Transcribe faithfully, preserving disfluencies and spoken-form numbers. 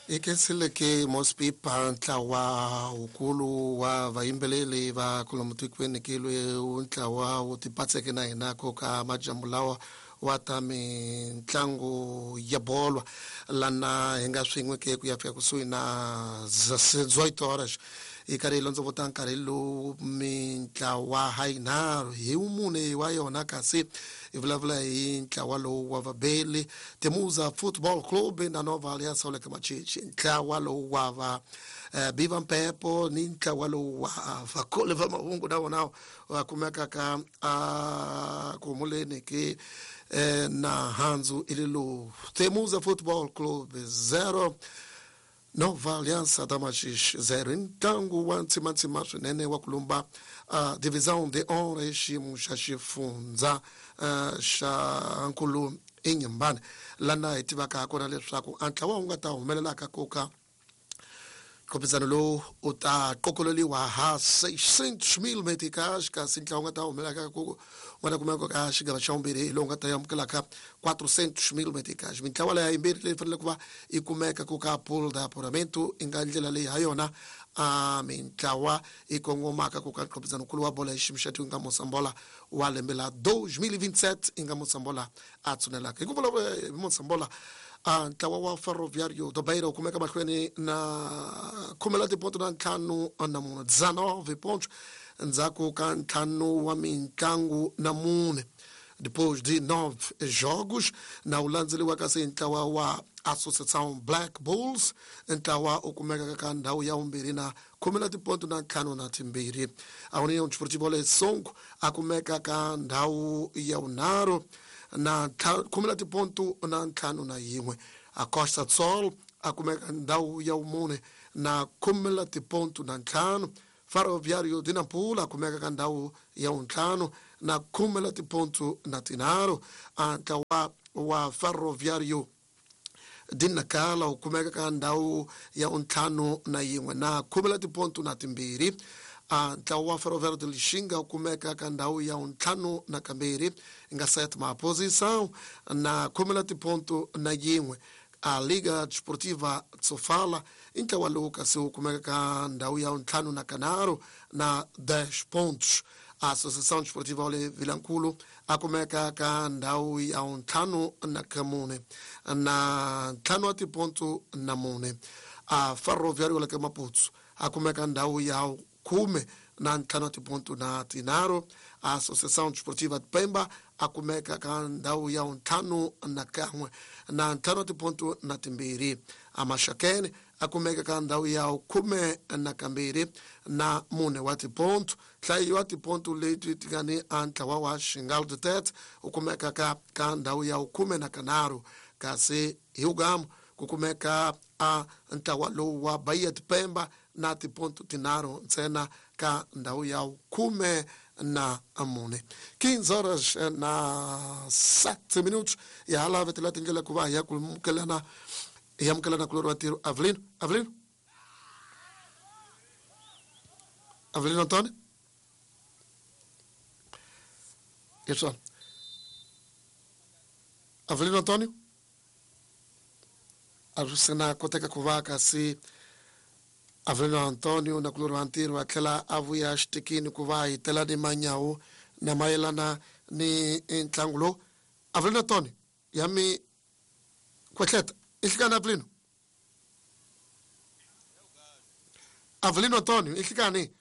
Ikhensile Mospipa ntlawa wukulu wa vayimbeleri va kwalomu tikweni ke loyi ntlawa wu tipatseke na hina ko ka majambu lawa wa ta mitlangu ya bolo lana hi nga swin'we ke ku ya fika kusuhi na dezoito horas hi karhi hi londzovota nkarhi lowu mintlawa ha yinharhu hi mune wa yona kasi hi vulavula hi ntlawa lowu wa vabeli Temuza Football Club na Nova Aliança wa le ka Machichi ntlawa lowu wa va eh, Biva Mpepo ni ntlawa lowu wa vakoli va mahungu na wona va kumeka ka a ku humuleni ke eh, na handzu ililo Temuza Football Club zero Nova Aliança da Machixe zero ntlangu wa ntsimantsima swinene wa ku lumba uh, divisão de honra hi xiyimo xa xifundza uh, xa nkulu Inhambane lana hi tivaka kona leswaku a ntlawa wu nga ta humelelaka koka nkhopizano lowu u ta qokololiwa ha seiscentos mil meticais kasi ntlawa wu nga ta humelelaka ku nga ta kumeka ka xigava xa vumbirhi hi lowu nga ta amukelaka quatrocentos mil meticais mintlawa leya yimbirhi leyi fanele ku va yi kumeka ku ka pool de apuramento i nga ndlela leyi ha yona a mintlawa yi kongomaka ku ka nkhopizano nkulu wa bolo hi xiyimo xa tiko nga Mosambola wa lembe la dois mil e vinte e sete i nga Mosambola a tshunelaka hi ku vulavula hi Mosambola a ntlawa wa Ferroviário do Beira wu kumeka mahlweni na khume la tiponto na ntlhanu na mune dezenove pontos ndzhaku ka ntlhanu wa mitlangu na mune depois de nove jogos na wu landzeliwa kasi ntlawa wa Associação Black Bulls ntlawa u kumeka ka ndhawu ya vumbirhi na khume la tiponto na ntlhanu na timbirhi a União Desportiva Songo a kumeka ka ndhawu ya vunharhu na khume la tiponto na ntlhanu na yin'we a Costa do Sol a kumeka ndhawu ya vumune na khume la tiponto na ntlhanu Ferroviário de Nampula a kumeka ka ndhawu ya vuntlhanu na khume la tiponto na tinharhu a ntlawa wa Ferroviário de Nacala wu kumeka ka ndhawu ya vuntlhanu na yin'we na khume la tiponto na timbirhi a ntlawa wa Ferroviário de Lixinga wu kumeka ka ndhawu ya vuntlhanu na kambirhi nga sétima posição na khume la tiponto na yin'we a Liga Desportiva Sofala i ntlawa lowu kasi wu kumeka ka ndhawu ya vuntlhanu na kanharhu na dez pontos a Associação Desportiva Ole Vilankulu a kumeka ka ndhawu ya vuntlhanu na kamune na ntlhanu wa tiponto na mune a Ferroviário la ka Maputo a kumeka ndhawu ya khume na ntlhanu wa tiponto na tinharhu a Associação Desportiva de Pemba a kumeka ka ndhawu ya ntlhanu na kan'we na ntlhanu wa tiponto na timbirhi a Maxakene a kumeka ka ndhawu ya khume na kambirhi na mune wa tiponto nhlayo wa tiponto leti ti nga ni a ntlawa wa Xingal de Tete u kumeka ka ka ndhawu ya khume na kanharhu kasi hi ugamu ku kumeka a ntlawa lowu wa Bahia de Pemba na tiponto tinharhu ntsena ka ndhawu ya khume na mune quinze horas na sete minutos ya hala vetela tindlela ku va hi ya ku amukelana hi amukelana kulori wa ntirho Avelino Avelino Avelino Antônio Isso Avelino Antônio a swi na koteka ku va kasi Avelino Antônio na kulori wa ntirho a tlhela a vuya xitikini ku va hi tela ni manyawu na mayelana ni ntlangu lowu Avelino Antônio ya mi kwetleta i nhlikani Avelino Avelino Antônio i nhlikani